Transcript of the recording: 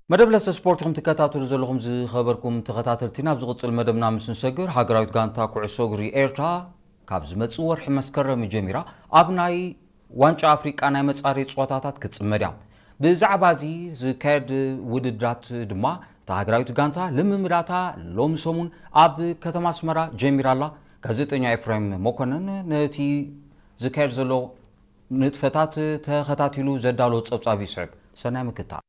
መደብ ለስተ ስፖርት ኢኹም ትከታተሉ ዘለኹም ዝኸበርኩም ተኸታተልቲ። ናብ ዝቕጽል መደብና ምስ ንሰግር፣ ሃገራዊት ጋንታ ኩዕሶ እግሪ ኤርትራ ካብ ዝመጽእ ወርሒ መስከረም ጀሚራ ኣብ ናይ ዋንጫ ኣፍሪቃ ናይ መጻረዪ ጸወታታት ክትጽመድ እያ። ብዛዕባ እዚ ዝካየድ ውድድራት ድማ እታ ሃገራዊት ጋንታ ልምምዳታ ሎሚ ሰሙን ኣብ ከተማ ኣስመራ ጀሚራ ኣላ። ጋዜጠኛ ኤፍሬም መኮነን ነቲ ዝካየድ ዘሎ ንጥፈታት ተኸታቲሉ ዘዳሎ ጸብጻብ ይስዕብ። ሰናይ ምክታል።